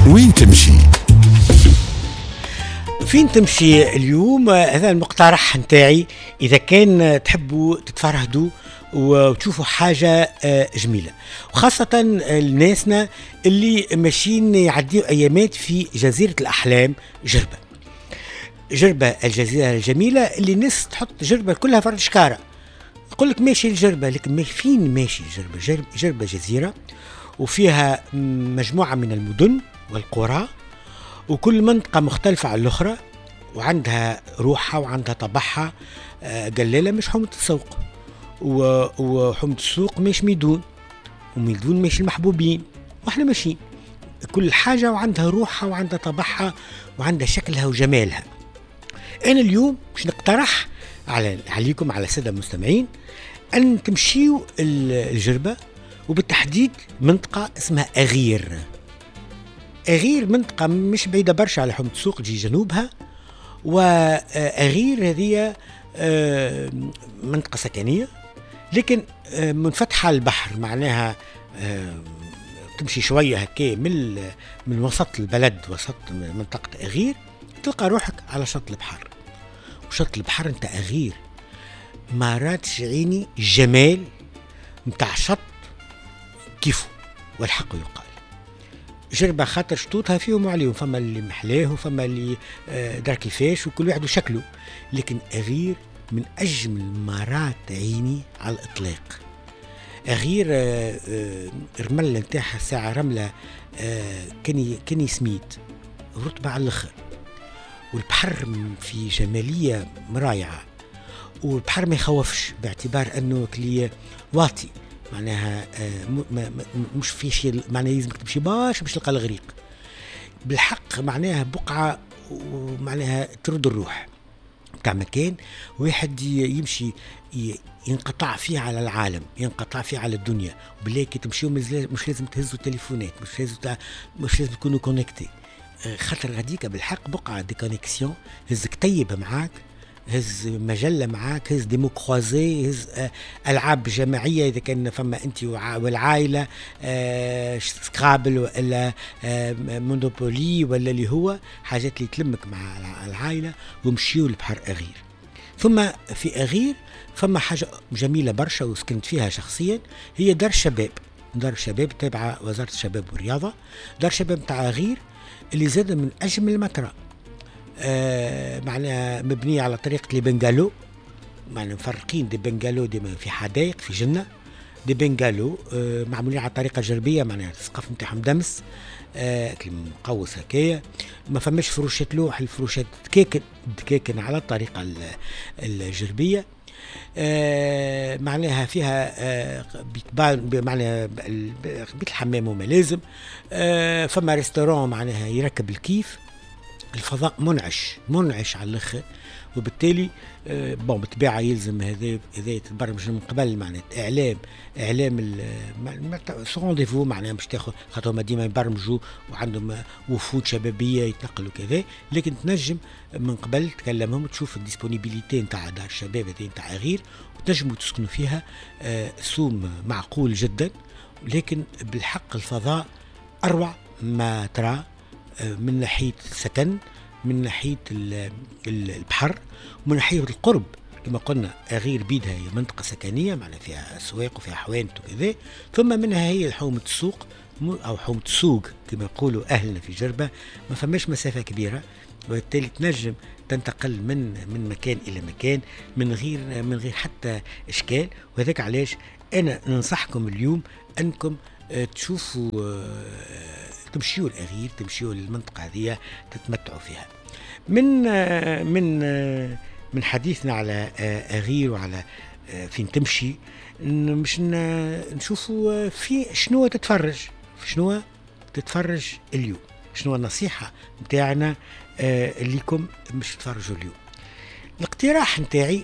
وين تمشي؟ فين تمشي اليوم؟ هذا المقترح نتاعي، اذا كان تحبوا تتفرهدوا وتشوفوا حاجة جميله، وخاصة الناسنا اللي ماشيين يعديوا ايامات في جزيرة الاحلام جربه. جربه الجزيرة الجميلة اللي الناس تحط جربه كلها فرد شكاره، يقول لك ماشي الجربه، لكن فين ماشي الجربه؟ جربه جزيرة وفيها مجموعة من المدن والقرى، وكل منطقة مختلفة عن الاخرى وعندها روحها وعندها طبعها. قلالة مش حومه السوق، وحومه السوق مش ميدون، وميدون مش المحبوبين، واحنا ماشيين كل حاجة وعندها روحها وعندها طبعها وعندها شكلها وجمالها. انا اليوم باش نقترح عليكم على السادة المستمعين ان تمشيوا الجربه، وبالتحديد منطقة اسمها اغير. اغير منطقة مش بعيدة برشا على حومه السوق، تجي جنوبها. واغير هذه منطقة سكنية لكن منفتحة على البحر، معناها تمشي شوية هكا من وسط البلد، وسط منطقة اغير، تلقى روحك على شط البحر. وشط البحر نتاع اغير ما راتش عيني الجمال نتاع شط كيفه، والحق يقال. جربة خاطر شطوطها فيهم وعليهم، فما اللي محلاه وفما اللي دار كيفاش، وكل واحد وشكله، لكن أغير من أجمل مرات عيني على الإطلاق. أغير الرملة نتاعها ساعة رملة كني سميت رطبة على الآخر، والبحر في جمالية رائعة، والبحر ما يخوفش باعتبار أنه كلي واطي، معناها مش في شيء، معناها لازمك تمشي باش تلقى الغريق بالحق، معناها بقعة ومعناها ترد الروح تاع مكان واحد يمشي ينقطع فيه على العالم، ينقطع فيه على الدنيا. وبالله كي تمشيو مش لازم تهزوا التليفونات، مش لازم تكونوا connectés، خاطر غاديك بالحق بقعة déconnexion. هز كتيب معاك، هز مجلة معاك، هز des mots croisés، هز ألعاب جماعية إذا كان فما أنت والعائلة، Scrabble ولا Monopoly ولا اللي هو حاجات اللي تلمك مع العائلة، ومشيوا لبحر أغير. ثم في أغير فما حاجة جميلة برشا وسكنت فيها شخصيا، هي دار الشباب. دار الشباب تابعة وزارة الشباب والرياضة. دار الشباب تاع أغير اللي زاد من أجمل المطرة، معناها مبنية على طريقة les bungalows، معناها مفرقين des bungalows ديما في حدائق في جنة، des bungalows معمولين على طريقة جربية، معناها السقف نتاعهم دمس مقوس هكايا، ما فماش فروشات لوح، الفروشات دكاكن على الطريقة الجربية. معناها فيها بيت، معناها بيت الحمام وما لازم، فما restaurant معناها يركب الكيف، الفضاء منعش منعش على الاخر. وبالتالي bon بالطبيعة يلزم هذا يتبرمج من قبل، معناها اعلام sur rendez-vous، معناها مش تاخذ، خاطر هما ديما يبرمجوا وعندهم وفود شبابية يتنقلوا كذا، لكن تنجم من قبل تكلمهم تشوف ال disponibilité نتاع دار الشباب هذه نتاع اغير، وتنجموا تسكنوا فيها. سوم معقول جدا، لكن بالحق الفضاء اروع ما ترى، من ناحية السكن، من ناحية البحر، ومن ناحية القرب. كما قلنا أغير بيدها هي منطقة سكنية، معناها فيها أسواق وفيها حوانت وكذا، ثم منها هي حومة السوق أو حومة السوق كما يقولوا أهلنا في جربة، ما فماش مسافة كبيرة، وبالتالي تنجم تنتقل من مكان إلى مكان من غير حتى إشكال. وهذاك علاش أنا ننصحكم اليوم أنكم تشوفوا، تمشيوا الأغير، تمشيوا للمنطقة هذه تتمتعوا فيها. من من من حديثنا على أغير وعلى فين تمشي، مش نشوفوا في شنو تتفرج، في شنو تتفرج اليوم، شنو النصيحة نتاعنا ليكم مش تتفرجوا اليوم. الاقتراح نتاعي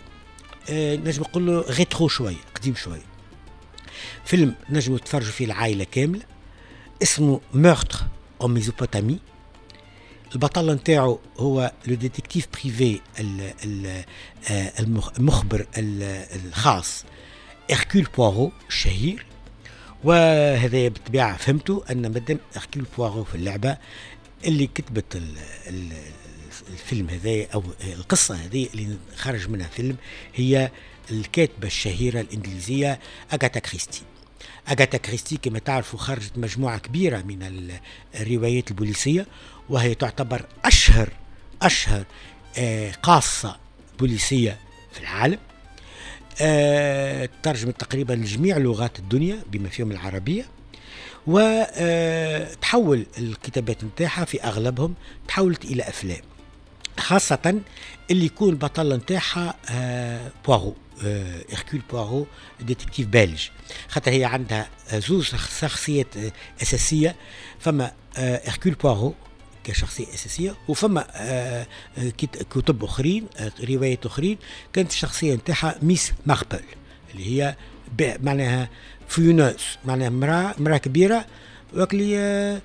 نجم نقول له rétro شوية، قديم شوية، فيلم نجموا تتفرجوا فيه العائلة كاملة، اسمه Meurtre en Mésopotamie. البطل نتاعو هو le détective privé، المخبر الخاص Hercule Poirot الشهير، وهذا بالطبيعة فهمتوا ان مادام Hercule Poirot في اللعبة، اللي كتبت الفيلم هذا او القصة هذه اللي خرج منها فيلم هي الكاتبة الشهيرة الانجليزية اغاثا كريستي. اغاثا كريستي كما تعرفوا خرجت مجموعة كبيرة من الروايات البوليسيه، وهي تعتبر اشهر قاصه بوليسيه في العالم. ترجمت تقريبا لجميع لغات الدنيا بما فيهم العربيه، وتحول الكتابات نتاعها في اغلبهم تحولت الى افلام، خاصة اللي يكون بطل نتاعها بوارو، Hercule Poirot détective belge، خاطر هي عندها زوز شخصيات أساسية. فما Hercule Poirot كشخصية أساسية، وفما كتب أخرين، روايات أخرين كانت الشخصية نتاعها Miss Marple اللي هي معناها fouineuse، معناها امرأة كبيرة وكلي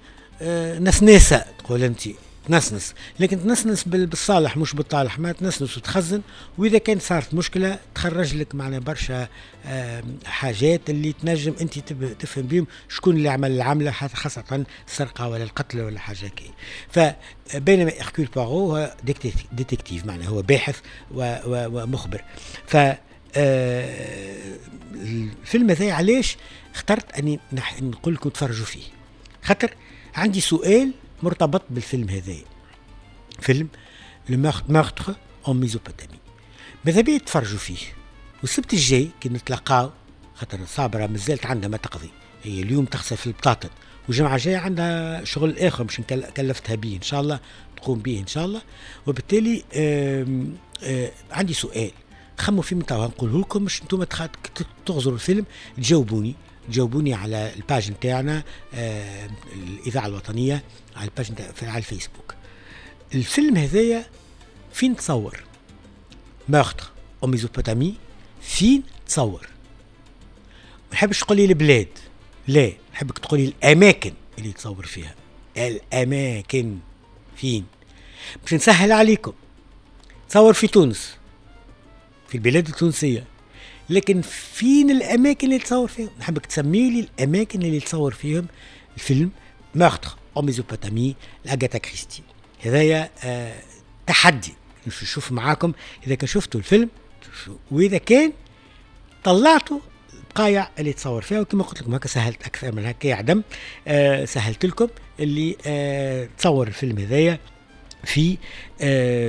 نسناسة، تقول أنت تنسنس، لكن تنسنس بالصالح مش بالطالح، ما تنسنس وتخزن، واذا كان صارت مشكلة تخرج لك معنا برشا حاجات اللي تنجم انت تفهم بهم شكون اللي عمل العملة، خاصة السرقة ولا القتل ولا حاجة كي. فبينما Hercule Poirot هو détective، معناه هو باحث ومخبر. ف الفيلم هذا علاش اخترت اني نقول لكم تفرجوا فيه؟ خاطر عندي سؤال مرتبط بالفيلم هذا، فيلم Le Meurtre en Mésopotamie. ماذا بيا تفرجوا فيه، والسبت الجاي كي نتلاقاو، خاطر صابرة مازالت عندها ما تقضي، هي اليوم تغسل في البطاطا والجمعة الجاية عندها شغل آخر مش كلفتها به إن شاء الله تقوم به إن شاء الله. وبالتالي آم آم عندي سؤال خموا فيه من توا نقوله لكم مش انتم تغزروا الفيلم تجاوبوني على ال page نتاعنا الإذاعة الوطنية، على ال page على الفيسبوك. الفيلم هذايا فين تصور؟ Meurtre en Mésopotamie فين تصور؟ ما نحبش تقولي البلاد، لا، نحبك تقولي الأماكن اللي تصور فيها، الأماكن فين؟ باش نسهل عليكم، تصور في تونس، في البلاد التونسية، لكن فين الأماكن اللي تصور فيهم؟ نحبك تسمي لي الأماكن اللي تصور فيهم الفيلم Meurtre en Mésopotamie لأغاثا كريستي. هذايا تحدي نشوف معاكم إذا كان شفتوا الفيلم وإذا كان طلعتوا البقايع اللي تصور فيها. وكما قلت لكم هكا سهلت أكثر من هكا عدم، سهلت لكم اللي تصور الفيلم هذايا في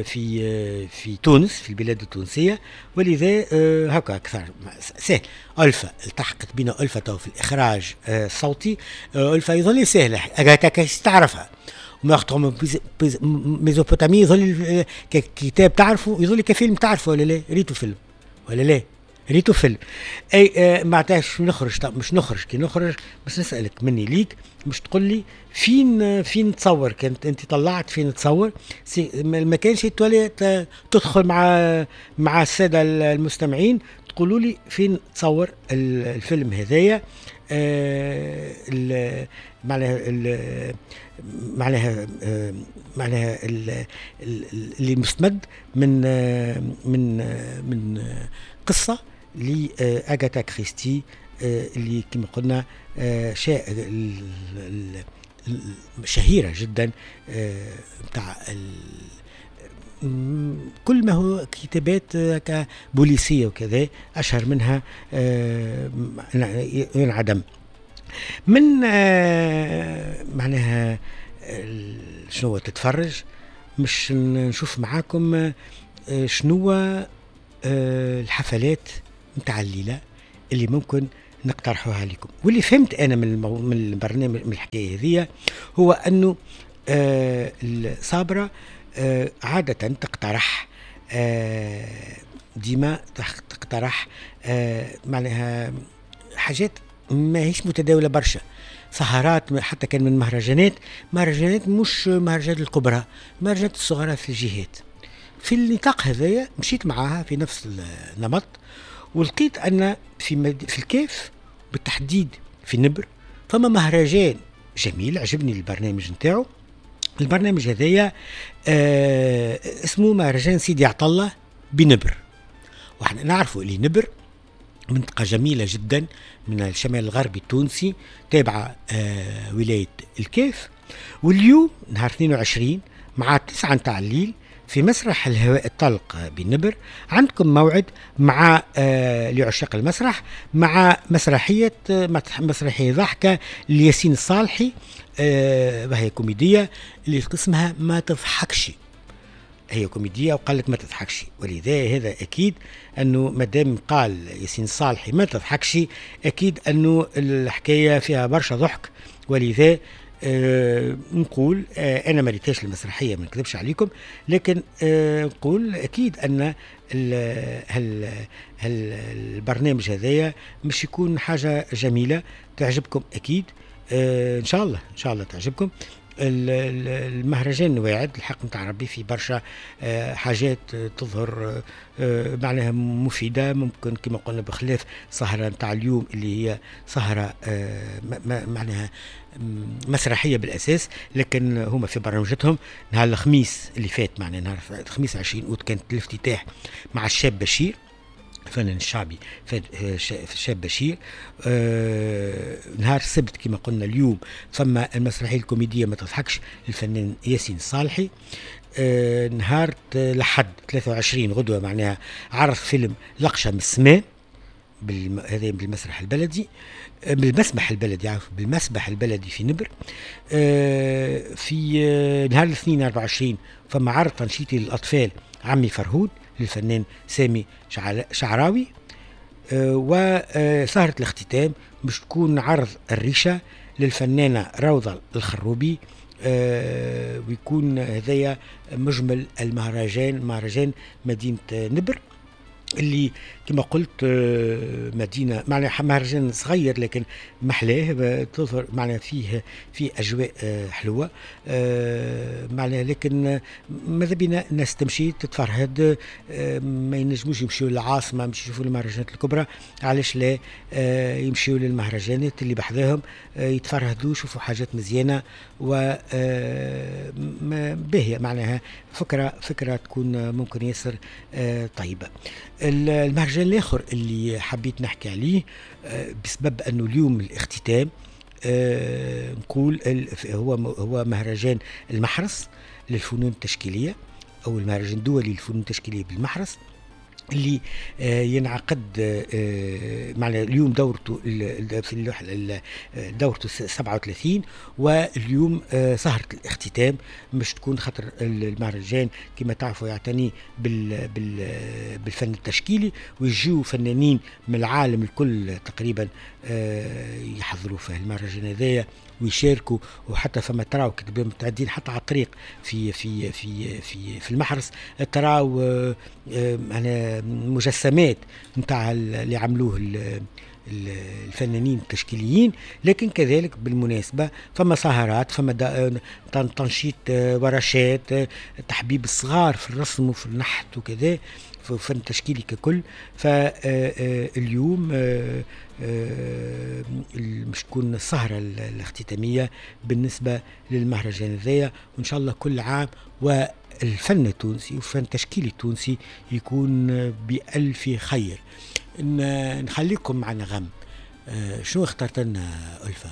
في في تونس، في البلاد التونسية، ولذا هكا أكثر سهل. ألفا التحقت بنا، ألفا تو في الإخراج الصوتي، ألفا يظل سهلة، أغاثا كريستي تعرفها، Meurtre en Mésopotamie يظل ككتاب تعرفه، يظل كفيلم تعرفه ولا لا؟ ريتو فيلم ولا لا؟ ريتو فيلم اي معناتها نخرج، مش نخرج، كي نخرج باش نسالك مني ليك مش تقول لي فين تصور، كانت انت طلعت فين تصور، ما كانش تولي تدخل مع السادة المستمعين تقولوا لي فين تصور الفيلم هذايا. معناها معناها اللي مستمد من من من قصة لأغاثا كريستي اللي كما قلنا شهيرة جدا بتاع كل ما هو كتابات بوليسية وكذا، أشهر منها ينعدم من معناها شنو تتفرج. مش نشوف معاكم شنو الحفلات نتاع الليلة اللي ممكن نقترحوها لكم. واللي فهمت أنا من البرنامج من الحكاية هذه هو أنه الصابرة عادة تقترح ديما تقترح معناها حاجات ما هيش متداولة برشا، سهرات حتى كان من مهرجانات مش مهرجانات الكبرى، مهرجانات الصغرى في الجهات. في النطاق هذايا مشيت معاها في نفس النمط، ولقيت أن في الكاف بالتحديد في النبر فما مهرجان جميل عجبني البرنامج نتاعو. البرنامج هذايا اسمه مهرجان سيدي عطالله بنبر، واحنا نعرفوا اللي نبر منطقة جميلة جدا من الشمال الغربي التونسي، تابعة ولاية الكاف. واليوم نهار 22 مع 9 نتاع الليل في مسرح الهواء الطلق بنبر عندكم موعد مع لعشاق المسرح مع مسرحية ضحكة لياسين الصالحي، وهي كوميدية اللي اسمها ما تضحكش. هي كوميدية وقال لك ما تضحكش، ولذا هذا أكيد أنه مادام قال ياسين الصالحي ما تضحكش أكيد أنه الحكاية فيها برشا ضحك. ولذا نقول أنا ما ريتهاش المسرحية، ما نكذبش عليكم، لكن نقول أكيد أن البرنامج هذايا مش يكون حاجة جميلة تعجبكم أكيد. إن شاء الله، إن شاء الله تعجبكم. المهرجان واعد الحق نتاع ربي، في برشا حاجات تظهر معناها مفيدة، ممكن كما قلنا بخلاف سهرة نتاع اليوم اللي هي سهرة معناها مسرحية بالأساس، لكن هما في برنامجتهم نهار الخميس اللي فات، معناها نهار الخميس 20 أوت كانت الافتتاح مع الشاب بشير، الفنان الشعبي الشاب بشير. نهار السبت كما قلنا اليوم ثم المسرحية الكوميدية ما تضحكش للفنان ياسين الصالحي. نهار الأحد 23 غدوة معناها عرض فيلم لقشة من السماء هذا بالمسرح البلدي، بالمسبح البلدي، عفوا بالمسبح البلدي في نبر. في نهار الاثنين 24 فما عرض تنشيطي للأطفال عمي فرهود للفنان سامي شعراوي. وسهرة الاختتام مش تكون عرض الريشة للفنانة روضة الخروبي، ويكون هذايا مجمل المهرجان، مهرجان مدينة نبر اللي كما قلت مدينة معناها مهرجان صغير لكن محلاه، تظهر معناها فيه في أجواء حلوة معناها، لكن ماذا بينا الناس تمشي تتفرهد، ما ينجموش يمشيو للعاصمة مش يشوفوا المهرجانات الكبرى، علاش لا يمشيو للمهرجانات اللي بحذاهم يتفرهدوا يشوفوا حاجات مزيانة و باهية، معناها فكرة تكون ممكن ياسر طيبة. المهرجان الآخر اللي حبيت نحكي عليه بسبب أنه اليوم الاختتام، نقول هو مهرجان المحرس للفنون التشكيلية أو المهرجان الدولي للفنون التشكيلية بالمحرس اللي ينعقد معنا اليوم دورته في دورته 37، واليوم سهرة الاختتام مش تكون، خاطر المهرجان كما تعرفوا يعتني بالفن التشكيلي، ويجيو فنانين من العالم الكل تقريبا يحضروا في المهرجان هذايا ويشاركوا، وحتى فما تراو كتبوا متعدين حتى على الطريق في في في في في المحرس تراو أنا مجسمات نتاع اللي عملوه الفنانين التشكيليين. لكن كذلك بالمناسبة فما سهرات، فما تنشيط ورشات تحبيب الصغار في الرسم وفي النحت وكذا، في الفن التشكيلي ككل. فاليوم مش تكون السهرة الاختتامية بالنسبة للمهرجان هذايا، وإن شاء الله كل عام والفن التونسي والفن التشكيلي التونسي يكون بألف خير. نخليكم مع نغم. شنو اخترت لنا ألفة؟